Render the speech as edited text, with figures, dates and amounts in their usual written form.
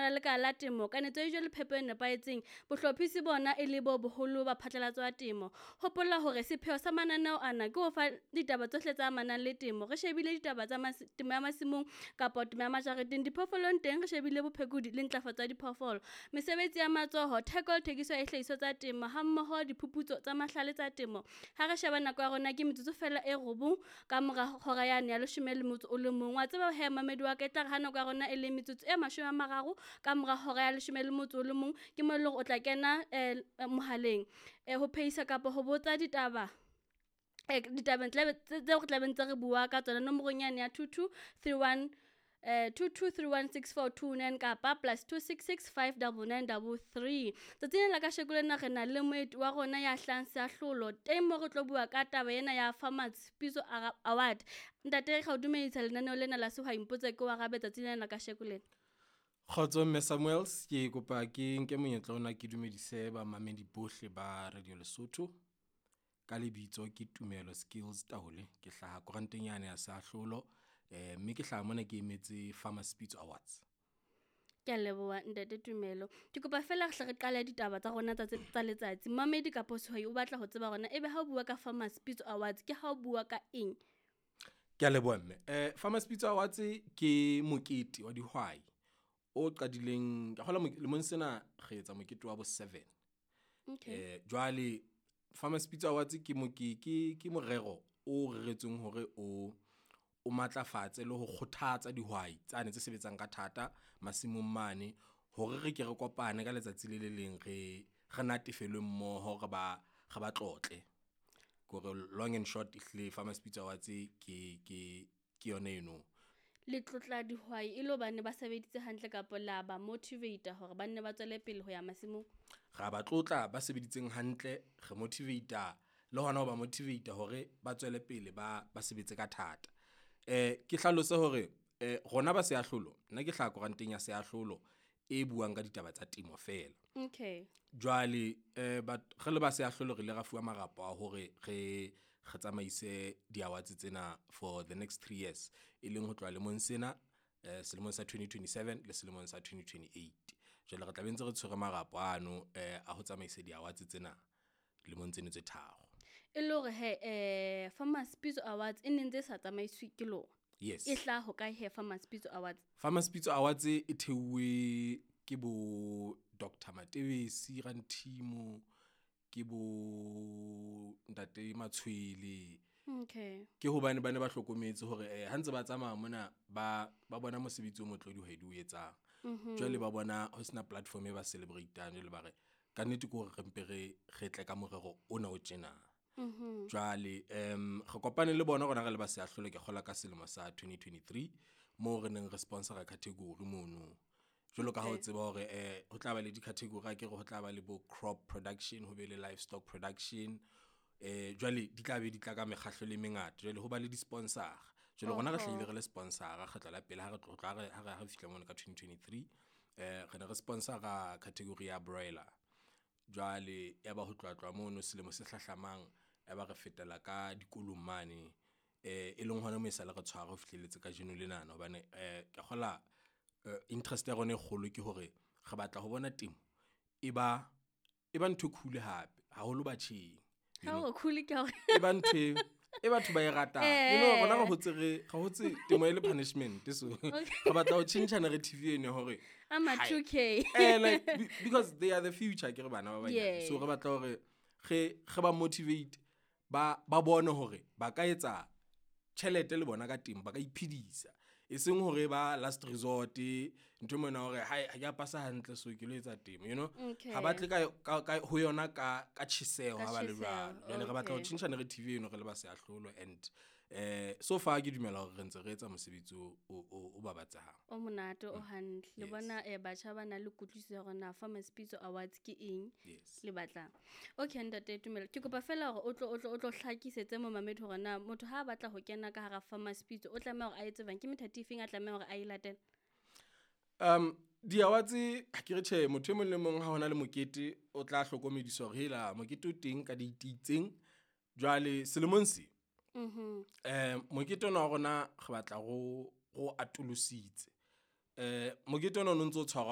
la Lekala la Temo, Kanetso ya Dijo le Phepo e Nepahetseng, bohlophisi bona e le bo boholo ba phatlalatso ya temo. Hopola hore sepheo sa mananeo ana ke ho fa ditaba tsohle tse amanang le temo. Re shebile ditaba tsa temo ya masimong kapa temo ya majareteng, diphoofolong teng re shebile bophekodi le ntlafatso ya diphoofolo, mesebetsi ya matsoho, theko le thekiso ya dihlahiswa tsa temo hammoho diphuputso tsa mahlale tsa temo. Ha re sheba nako ya rona ke metsotso fela e 9 ka mora hora yane ya 11. Wa tseba he mamedi wa ka, e tla re ha nako ya rona e le metsotso e 30 ka mora hora ya 11, ke mo e leng hore o tla kena mohaleng ho phehisa kapa ho botsa ditaba ditabeng tseo re tlabeng tse re bua ka tsona nomorong yane ya 2231 22316429 kapa +266 599 33. Tsatsing lena la kasheko lena re na le moeti wa rona ya hlahang Seahlolo teng mo re tlo bua ka taba ena ya Farmers Pitso Award. Ntate, re o dumedisa lenaneo lena la Sehwai Mpotse ke o arabe tsatsing lena la kasheko lena. Kgotso Mme Samuels, ke kopa ke nke monyetla ona ke dumedise bamamedi bohle ba Radio Lesotho. Ka lebitso ke Tumelo Skills Taole, ke hlaha koranteng yane ya Seahlolo, mme ke hlaha mona ke emetse Farmers Pitso Awards. Ke a leboha ntate Tumelo. Ke kopa fela re hle re qale ditaba tsa rona tsa letsatsi. Mamedi kapa sehwai o batla ho tseba hore na ebe ha o bua ka Farmers Pitso Awards ke ha o bua ka eng? Ke a leboha mme. Farmers Pitso Awards ke mokete wa dihwai o qadileng, ke kgolwa lemong sena re etsa mokete wa bo 7. Okay. Jwale Farmers Pitso Awards ke ke morero o reretsweng hore o matlafatse le ho kgothatsa dihwai tsane tse sebetsang ka thata masimong mane, hore re ke re kopane ka letsatsi le le leng re natefelwe mmoho, re ba tlotle. Kore long and short ehlile Farmers Pitso Awards ke yona eno. Le tlotla dihwai e le hobane ba sebeditse hantle kapa la ba motivate hore ba nne ba tswele pele ho ya masimong? Ra ba tlotla ba sebeditseng hantle, re motivate le hona ho ba motivate hore ba tswele pele ba sebetse ka thata. Ke hlalose hore rona ba Seahlolo, nna ke hlaha koranteng ya Seahlolo e buang ka ditaba tsa temo feela. Okay. Jwale re le ba Seahlolo re ile ra fuwa marapo a hore re tsamaise di-awards tsena for the next 3 years, e leng ho tloha lemong sena, selemong sa 2027 le selemong sa 2028. Jwale re tla be ntse re tshwere marapo ano a ho tsamaisa di-awards tsena lemong tseno tse tharo. E le hore he Farmers Pitso Awards e ne ntse sa tsamaiswe ke lona. Yes. E hlaha ho kae he Farmers Pitso Awards? Farmers Pitso Awards e theuwe ke bo Dr. Matebesi Ranthimo, ke bo Ntate Matshwele. Okay. Ke hobane ba ne ba hlokometse hore ha ntse ba tsamaya mona ba bona mosebetsi o motle dihwai di o etsang. Jwale ba bona ho sena platform e ba celebrate-ang, jwale ba re ka nnete ke hore re mpe re tle ka morero ona o tjena. Jwale re kopane le bona rona re le ba Seahlolo, ke kgola ka selemo sa 2023 moo re neng re sponsora category mono. Jwalo ka ha o tseba hore ho tla ba le di-category, a ke re ho tla ba le bo crop production, ho be le livestock production. Jwale di tla be di tla ka mekgahlo le mengata, jwale ho ba le di-sponsor. Jwale rona re hlahile re le sponsor kgetlo la pele ha re tlotla ha re fihla mono ka 2023, re ne re sponsora category ya broiler. Jwale ya ba ho tloha mono selemo se hlahlamang ya ba re fetela ka dikolong mane, e leng hona mo e sale re tshwara ho fihlelletse kajeno lenana, hobane ke kgola interest ya rona e kgolo ke hore re batla ho bona temo e ba ntho e cool hape haholo batjheng. Ha o cool ke hore e ba ntho e batho ba e ratang. You know, rona re hotse temo e le punishment, so re batla ho tjhentjha narrative eno hore I'm a 2K. Like because they are the future, ke re bana ba banyane. So re batla hore re ba motivate, ba bone hore ba ka etsa tjhelete le bona ka temo, ba ka iphedisa. E seng hore ba last resort ntho mona hore ha ke a pasa hantle so ke lo etsa temo, you know. Ha ba tle ka ho yona ka tjheseho ha ba le jwalo. Jwale re batla ho tjhentjha narrative eno re le ba Seahlolo, and so far ke dumela hore re ntse re etsa mosebetsi o babatsehang. O monate, o hantle. Le bona batjha ba na le kutlwisiso ya hore na Farmers Pitso Awards ke eng le batlang. Okay ntate Tumelo, ke kopa fela hore o tlo hlakisetse momamedi hore na motho ha a batla ho kena ka hara Farmers Pitso o tlameha hore a etse jwang, ke methati efeng a tlameha hore a e latele? Di-awards ha ke re tjhe, motho e mong le mong ha hona le mokete o tla hlokomediswa hore hela mokete o teng ka date itseng. Jwale selemong se mokete ona wa rona re batla ro atolositse. Mokete ona o ntso tshwarwa